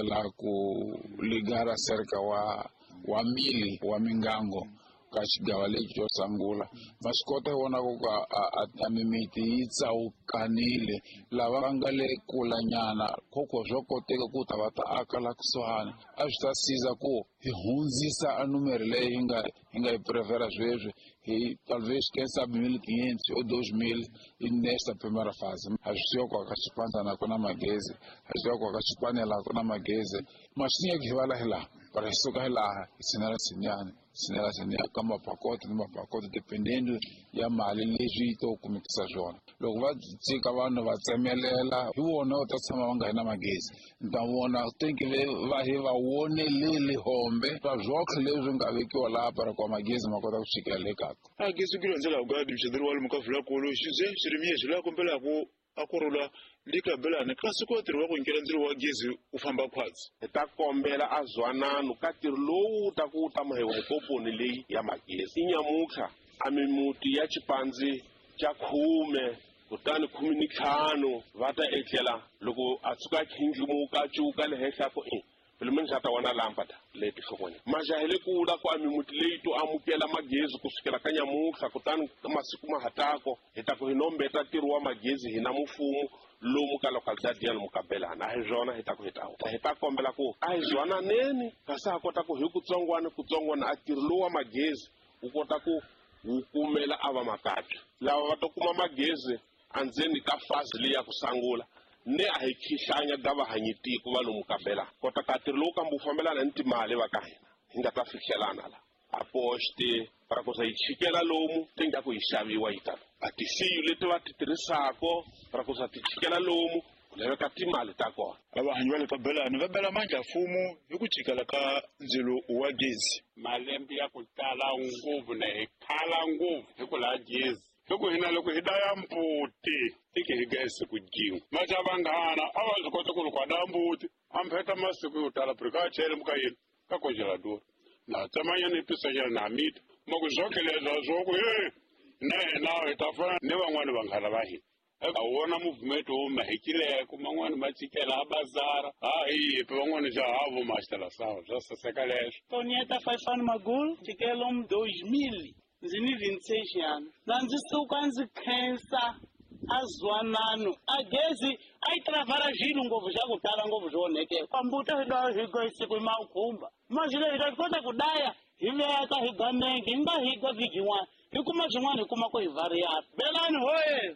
La ku ligar acerca wa mili wa mingango ka xigava lexi xo sungula ma swi kota hi vona ku a mimiti yi tsawukanile lava va nga le kulanyana khokho swa koteka ku ta va ta aka la kusuhani a swi ta siza ku hi hundzisa a numero leyi hi nga yi prefera sweswi hi talvez quem sabe 1500 ou 2000 nesta primeira fase. A swi tiva ku aka xipandzana ku na magezi, a swi tiva ku aka xipanela ku na magezi. Mashinya hi vala hi laha, para hi suka hi laha hi tshinela tshinyani, tshinela tshinyani ka mapakoto ni mapakoto dependendo ya mali leswi yi to kumekisa swona. Loko va tshika vanhu va tsemelela hi vona va ta tshama va nga ri na magezi. Ni ta vona tenke va hi va voneleli hombe va zwohle leswi nga vekiwa laha para ku magezi ma kota ku chikela le kaya. A gezi ku landzela ku ga wa lomu ka Vulakulu xibye xirimiye xi la kombelaku a ku rhula likabelani kasi ku ntirho wa ku nyikela ndzilo wa gezi wu famba khwatsi. Hi ta kombela a zwanano ka ntirho lowu wu ta ku wu ta mahiwa hi komponi leyi ya magezi. I nyamutlha a mimuti ya xipandzi xa 10 kutani 15 va ta etlela loko a tshuka khindlimuka a cuka le henhla ku i pelo menos a ta wana lâmpada leti hlokweni. Majahele kula ku a mimuti leyi to amukela magezi kusukela ka nyamutlha kutani masiku ma hatako hi ta ku hi nombeta ntirho wa magezi hina mufumo lomu ka localidade ya lomu ka Belana. A hi swona hi ta ku hi ta hi ta kombela ku a hi zwananeni kasi ha kota ku hi kutsongwana kutsongwana a ntirho lowu wa magezi wu kota ku wu kumela a va makatla lava va ta kuma magezi andzeni ka fazi leyi ya ku sangula ne a hi khihlanya ga vahanyi tiko va lomu ka Belana. Kota ka ntirho lowu kambe wu fambelana ni timali va ka hina hi nga ta fihlelana la a poste para ku yi chikela lomu ti nga ku yi xaviwa yi tala a tisiyu leti va ti tirhisako para ku ti chikela lomu ku laveka timali ta kona. Vahanyi va le ka Belani va bela mandla mfumo hi ku chikela ka ndzilo wa gezi. Malembe ya ku tala ngopfu na hi khala ngopfu hi ku lava gezi. Loko hina loko hi daya mbuti tike hi gezi ku jin'we. Maxa vanghana a va swi kota ku loko a daya mbuti a mpheta masiku yo tala puri ka chele muka yini ka congelador. Na tsemanyana hi pisanyana na mita. Ma ku zwoke leswa swo ku he na hina hi ta fana ni van'wani vanghana va hina. A wona movement wo ma hikileko man'wani ma chikela a bazara a hi yipi van'wani xa havo ma xitela sawa swa saseka leswo. Tonieta Faifani Magul chikelo 2000 ndzi ni 26 anos. Na ndzi suka ndzi khensa a zwanano a gezi a yi travara xilo ngopfu xa ku tala ngopfu swo onhekela. Kwambuta hi daya hi ga siku hi makhumba. Manje hi ta kota ku daya hi veka hi ganenge hi nga hi ga vhiki yin'wana hi kuma swin'wana hi kuma ku hi variana. Belani hoye!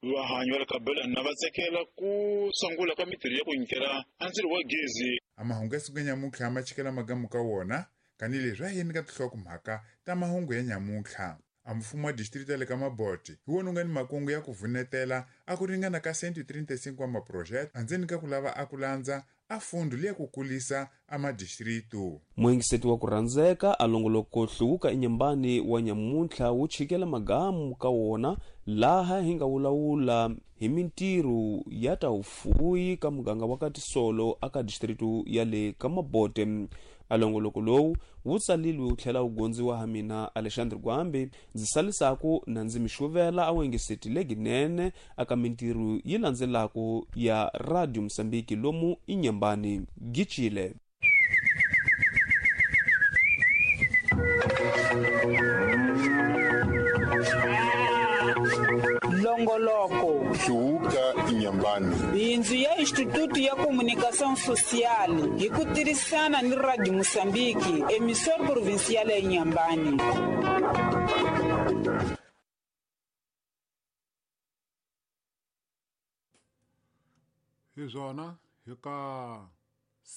Vahanyi va le ka Belani na va tsekela ku sungula ka mintirho ya ku nyikela a ndzilo wa gezi. A mahungu ya siku ya nyamuntlha ma chikela magamu ka wona kanileswi a yeni ka tinhlokomhaka ta mahungu ya nyamuntlha. A mfumo wa distrito ya le ka Mabote hi wona wu nga ni makungu ya ku vunetela a ku ringana ka 135 wa maproject andzeni ka ku lava a ku landza a fundu liya ku kulisa a madistritu. Muengiseti wa ku rhandzeka a longoloko hluvuka enyambani wa nyamuntlha wu chikela magamu ka wona laha hi nga wulawula hi mintirho ya ta vufuwi ka muganga wa ka Tisolo aka distritu ya le ka Mabote. A longoloko lowu wu tsalilwe wu tlhela wu gondziwa ha mina Alexandre Gwambi ndzi salisaku na ndzi mi xuvela a wengiseti leginene aka mintirho yi landzelaku ya Radio Mozambique lomu inyambani Gichile. Longoloko Hluvuka inyambani. Bindzu ya Instituto ya Comunicação Social hi ku tirhisana ni Radio Mozambique, emissor provincial ya Inhambane. Hi swona hi ka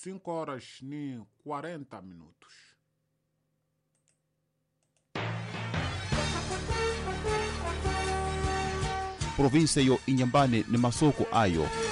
5 horas ni 40 minutos. Província yo Inhambane ni masoko ayo.